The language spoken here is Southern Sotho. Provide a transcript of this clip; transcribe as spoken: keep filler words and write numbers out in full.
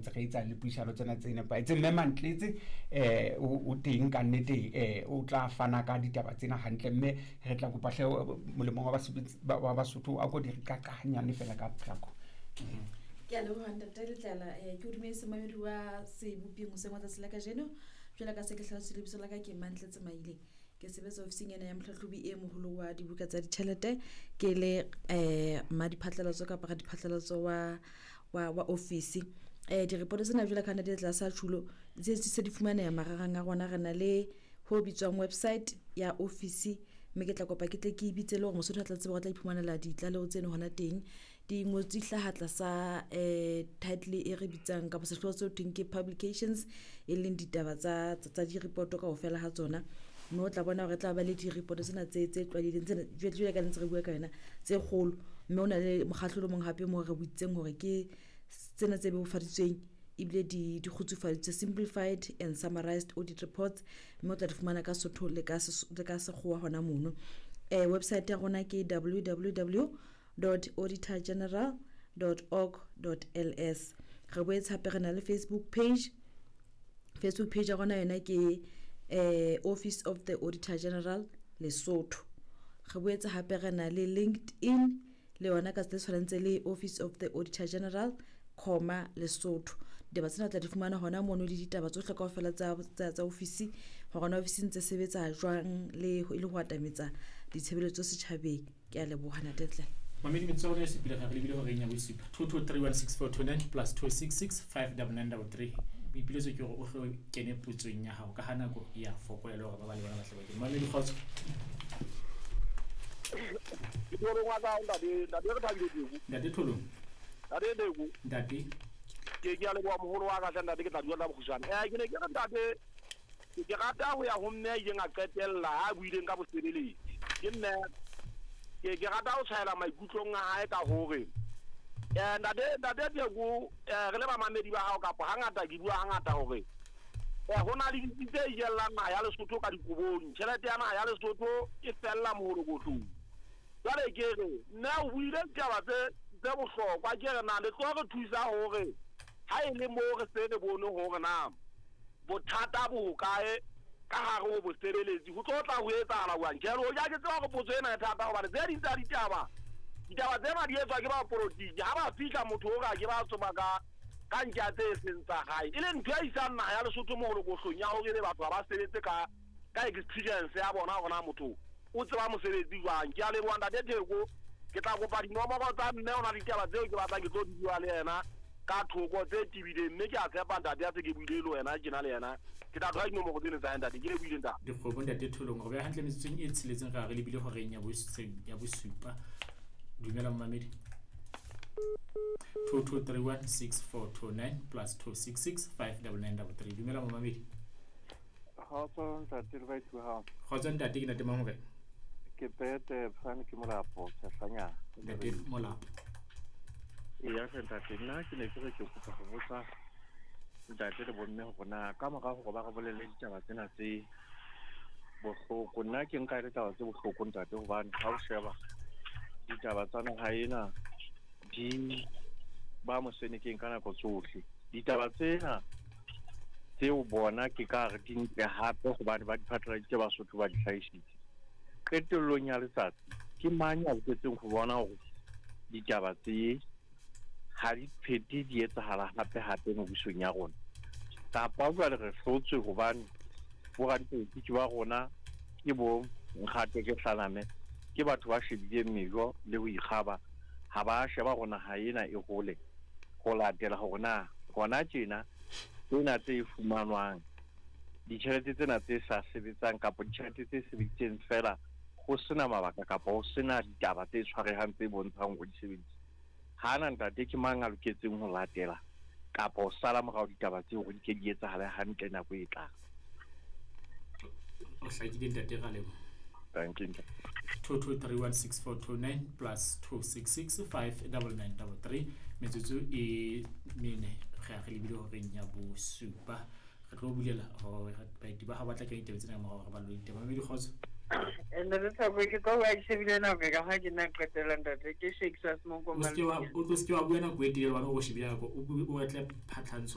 Ntse re etsa le puisano tsena tse nepahetseng. Mme Mantletse eh o o teng ka nnete, eh o tla fana ka ditaba tsena hantle, mme re tla kopa hle molemong wa basebetsi wa Basotho a ko di re qaqa hanyane fela ka potlako. Ke a leboha, ntate Letlala. um ke o dumedise momamedi wa seboping hoseng wa tsatsi la kajeno. Jwalo ka se ke hlalositse, lebitso la ka ke Mantletse Maile, ke sebetsa ofising ena ya mohlahlobi e moholo wa dibuka tsa ditjhelete, ke le um mmadiphatlalatso kapa radiphatlalatso wa wa wa ofisi. um direpoto tsena, jwalo ka ntate tlasa tjhulo, di se di fumaneha marangrang a rona. Re na le ho bitswang website ya ofisi, mme ke tla kopa ke tle ke e bitse le hore Mosotho a tla tseba hore o tla iphumanela ditlaleho tseno hona teng. Di ngotswe di hlaha tlasa um title e re bitsang kapa sehlooho seo thweng ke publications, e leng ditaba tsa tsa direpoto kaofela ha tsona, mme o tla bona hore tla ba le direpoto tsena tse tse tlwaelehileng, tsena jwale ka ntse re bua ka yona, tse kgolo. Mme o na le mokgahlelo o mong hape moo re boitseng hore ke tsena tse bebofaditsweng ebile di di kgutsufaditswe, simplified and summarized audit reports, mme o tla di fumana ka Sotho le ka le ka Sekgowa hona mono. um website ya rona ke w w w dot auditor general dot org dot l s. Re boetse hape re na le Facebook page. Facebook page ya rona yona ke eh Office of the Auditor General Lesotho. Re boetse hape re na le LinkedIn, le yona ka tse tshwanetse le Office of the Auditor General comma Lesotho. Ditaba tsena o tla di fumana hona mono, le ditaba tsohle kaofela tsa tsa tsa ofisi, hore na ofisi ntse sebetsa jwang le e le ho atametsa ditshebeletso setjhabeng. Ke a leboha, ntate. Mamedi, metsotso ya rona e supile ga re lebile horeng ya bosupa. Two two three one six four two nine plus two six six five double nine double three. Boipiletso ke hore o hlo kene potsong ya hao ka ha nako e ya fokola, le hore ba ba le bona ba tle ba kene. Mamedi, kgotso. Ke Tholong wa ka, ntate ntate re Thabile Teko. Ntate Tholong. Ntate Teko. Ntate. ke ke a leboha, moholo wa ka hle ntate, ke tla dula tla bokgutshwane. um ke ne ke re, ntate, ke ke rata ho ya ho mme a ileng a qetella ha a buileng ka bosebeletsi. Ke mme ke ke rata ho tshwaela maikutlong a hae ka hore um ntate ntate Teko, um re le bamamedi ba hao, kapa hangata ke bua hangata hore um ho na le ditsi tse ijellang naha ya Lesotho ka dikobong. Tjhelete ya naha ya Lesotho e fella moholokotlong. Jwale ke re, mme o buile ditaba tse tse bohlokwa. Ke re, na le tlo re thusa hore ha e le moo re se re bone hore na bothata bo hokae ka hare ho bosebeletsi, ho tlo tla ho etsahala jwang? Tjhe, hoja ke tseba hore potso ena e thata, hobane tse ding tsa ditaba ditaba tsena di etswa ke bapolotiki. Ha ba fihla, motho o re ke ba tsoma ka ka ntja tse seng tsa hae, e leng ntho e isang naha ya Lesotho moholokohlong, ya hore ebe batho ha ba sebetse ka ka experience ya bona, hore na motho o tseba mosebetsi jwang. Ke a leboha, ntate Theko. Ke tla kopa dinomoro tsa mme, o na le ditaba tseo ke batlang ke tlo di bua le yena ka thoko tse tebileng, mme ke a tshepa ntate a se ke buile le wena tjena le yena ke tla thola dinomoro tsene tsa hae, ntate. Ke lebohile, ntate. Dikgomo, ntate Tholong. Re beha hantle metsotsong e tsheletseng ra re lebile horeng ya bose- ya bosupa. Dumela, momamedi. Two two three one six four two nine plus two six six five double nine double three. Dumela, momamedi. Kgotso ntate le baeti ba hao. Kgotso ntate, ke ntate mang hore? Ke pete fane ke Molapo Tshehlanyana. Ntate Molapo. Eya hle ntate, nna ke ne ke re ke kopa ho botsa ntate le bomme hore na ka mora hore ba re bolelle ditaba tsena tse bohloko, nna ke nka e le taba tse bohloko, ntate, hobane ha o sheba ditaba tsa naha ena di ba mosenekeng ka nako tsohle. Ditaba tsena tseo bona ke ka re di ntle hape hobane ba di phatlaladitse, Basotho ba di hlahisitse. Qetellong ya letsatsi ke mang ya loketseng ho bona hore ditaba tse ha di phete di etsahala hape hape mebusong ya rona? Kapa jwale re hlotswe hobane boradipolotiki ba rona ke bo nkgate ke hlaname, ke batho ba shebileng mejo le ho ikgaba, ha ba sheba hore naha ena e hole ho latela hore na hona tjena tsena tse fumanwang, ditjhelete tsena tse sa sebetsang kapa ditjhelete tse sebeditseng fela ho sena mabaka kapa ho sena ditaba tse tshwarehang tse bontshang hore di sebeditse hana, ntate, ke mang a loketseng ho latela kapa ho sala morao ditaba tseo hore di ke di etsahale hantle nako e tlang? O hlakile, ntate, ra leboha. Thank you, ntate. Two two three one six four two nine plus two six six five double nine double three. Metsotso e mene re a re lebile horeng ya bosupa. Re tlo bulela hore baeti ba ha batla kenya ditaba tsena ka morao, re ballo ditaba. Mamedi, kgotso. Ntate Thabo, ke tlo bua ke shebile nako ka ha ke nna qetela ntate ke Shakespeare Semoko O se ke wa o tlo se ke wa bua nako e telele hobane o shebile nako o bue o batle phatlhantsho.